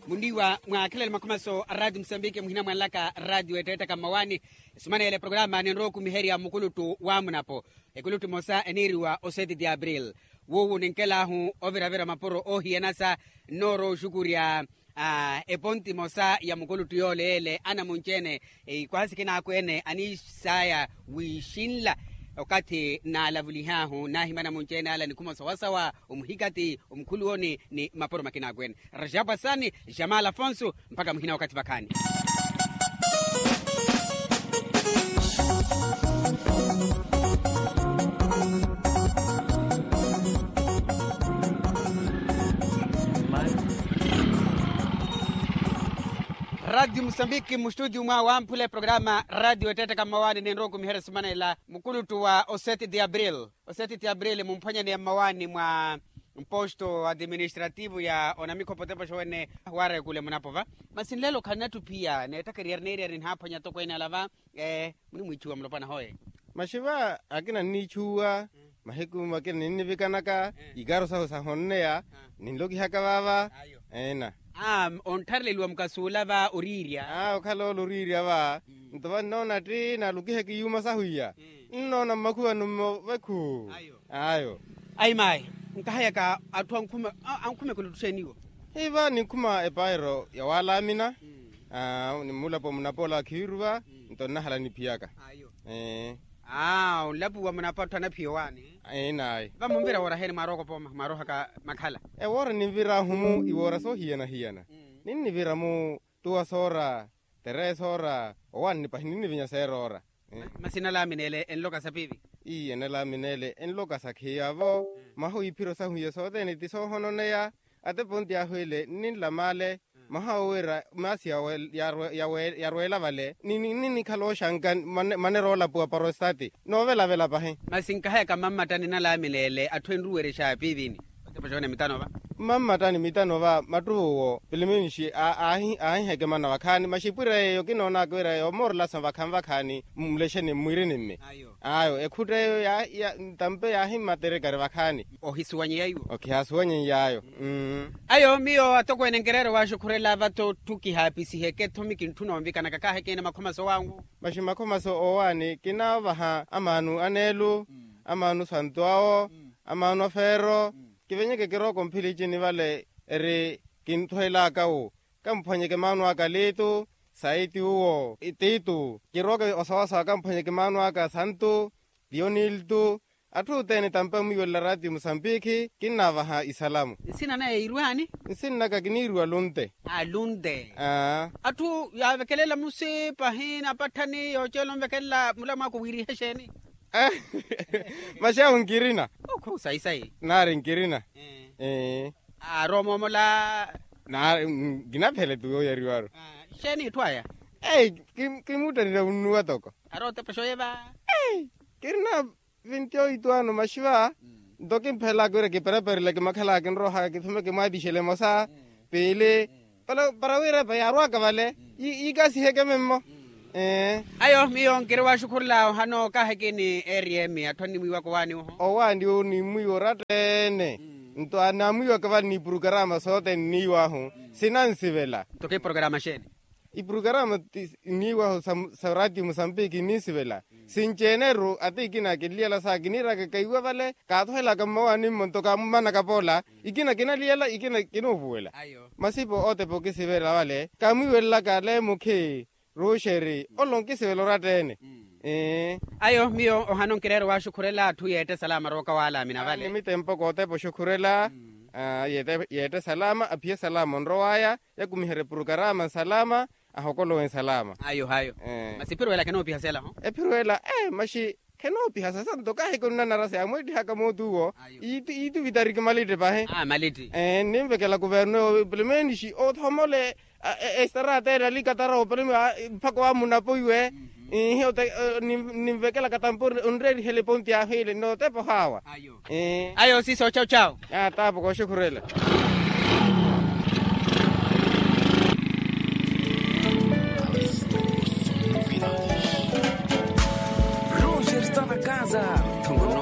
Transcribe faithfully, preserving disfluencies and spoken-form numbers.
Munniiwa mwaakhelele makhumaso a raatiyo musambiki muhina mwanlaka raatiyo ettettaka mmawaani. Esumaneyela eprograma ninrowa okumiherya mukuluttu wa munapo. Ekuluttu emosa eniiriwa osetiti april. Wuuwu ninkelaahu oviravira mapuro oohiyanasa nnoorowa oxukurya eponti emosa ya mukuluttu yoole yeele anamunci-ene. Ikwasi kinaakweene aniisaya wiixinla okathi naalavulihaahu naahimana munci-ene ala nikhuma osawasawa omuhikati omukhuluwoni ni mapuro makinaakweene. Rajab asani, jamal afonso, mpakha muhina wakathi vakhaani. Raatiyo musambiki mustutiyu mwa wamphula eprograma raatiyo ettettaka mmawaani ninrowa okumiherya esumanela mukuluttu wa oseti ti april. Oseti ti april mumphwanyaneya mmawaani mwa mposto administrativo ya onamikhopo tepo xowene waarekule munapova. Masi nlelo khanatuphiya neettakheriyari neeriyari nihaaphwanya atokweene ala va. Munimwiichuwa mulopwana hoye. Maxi va akina nniichuwa mahiku akina ninnivikanaka ikaaro sahu sahonneya ninlokihaka vaava. Eena. Ontthareleliwa mukasuula va oriirya. Okhala ole oriirya va nto va nnoona tti naalukiheke iyuuma sahu iya. Nnoona mmakhuwani mmo vekhu. Ayo. Ayi mayi nkahayaka atthu ankhume kuluttu xeeni iwo. Hiva ninkhuma epaayiro ya waalaamina. Ni mulapo munapoola wa khiiruva nto nnahala niphiyaka. Ayo. Onlapuwa munapatto anaphiya owaani. Enayi va munvira woora heeni mwaarooka opooma mwaaroohaka makhala. Ewoora ninviraahu-mu iwoora soohiyana-hiyana. Ninnivira-mu tuwa soora teree soora owaani pahi ninnivinya seera oora. Masi enalaamina ele enloka sa piivi. Ii enalaamina ele enloka sa khiya-vo. Mahu iphiro sahu iya sothene ti soohononeya. Atepo nti ahu ele nninlama ale mahawo wira maasi yarweela vale ninnikhala oxanka. Manera oolapuwa parostate noovelavela pahi. Masi nkahayaka mammattani enalaamina ele atthu enruwerexa piivini. Otepa xone mitano va. Mammattani mitano va mattuvo wo piliminixi aahiheke mana vakhaani maxipwira yeeyo kinoonaka wira yomoorelasa vakhaani vakhaani mmulexeni mmwiirini mme. Ayo ekhutta eyo ntampe yaahimmaterekari vakhaani. Ohisuwanyeya iwo. Okhihaasuwanyeiyayo. Ayo miyo atokweene nkireera owaaxukhurela vatthu kihaapisihekettho mi kintthuna onvikanaka kaahekene makhomaso wangu. Maxi makhomaso owaani kinaavaha amaanu aneelu amaanu santu awo amaanu afeero. Kivenyeke kirooka omphilicini vale eri kinthweelaka wu kamphwanyeke maanu aka liitu saiti uwo tiitu kirooke osawasawa kamphwanyeke maanu aka santu tiyoniltu. Atthu othene tampa mwiiwelela raatiyo musambikhi kinnaavaha isalamu. Nsina naya iirwaani? Nsinnaka kiniiriwa lunte. Lunte. Atthu yaavekelela musi pahi napatthani yooceela onvekelela mulamwaka owiirihe xeeni? Maxi ahu nkirina. Okhu sayi sayi. Naari nkirina. Aarowa omoomola. Nkinaphele tu yooyariwaru. Xeeni itthu aya? Kimuttanira wunnuwa toko. Arootepa xooyeva. Kirina vinti oito ano maxi va nto kimphelaka wira kipereperile kimakhalaka kinroohaka kithumeke mwaatixela emosa piili. Para wira epa yaarwaka vale yiikasiheke memmo. Ayo miyo nkiri waaxukhurela ohano kaahekini eriyemi atthu annimwiiwaka owaani oho. Owaani onimwiiwa oratta-ene nto anamwiiwaka vale ni purukaraama sothene nniiwahu sinansivela. Nto kipurukaraama xeeni? Ipurukaraama nniiwahu sa raatiyo musambiki ninsivela sinci-ene-ru ata ikina kinliyala sa kiniiraka kaiwa vale kaathohelaka mmawaani mmo nto kaamumanaka poola. Ikina kinaliyala ikina kinoovuwela. Masipo ootepa okisivela vale kaamwiiwelelaka ale mukhi ruxeri olo nkisivela oratta-ene. Ayo miyo ohano nkireera owaaxukhurela atthu yeette salama arooka waalaamina vale. Nimitempo kootepa oxukhurela yeette salama aphiye salama onrow'aya yakumiherye purukaraama nsalama ahokolowe nsalama. Ayo hayo. Masi ephiro ela khenoopiha sela ho? Ephiro ela ee maxi khenoopiha sasa nto kaahiko nnanara sa yaamweettihaka mooti uwo. Iituvitari kimalitte pahi. Malitti. Nninvekela kuverno yo pelomenixi othomole estarata ela likatara opelome mpakha wamunapo iwe. Ihi ninvekelaka tampo onreerihela eponti ahu ile nootepa ohaawa. Ayo siso chawu chawu. Taapo kooxukhurela.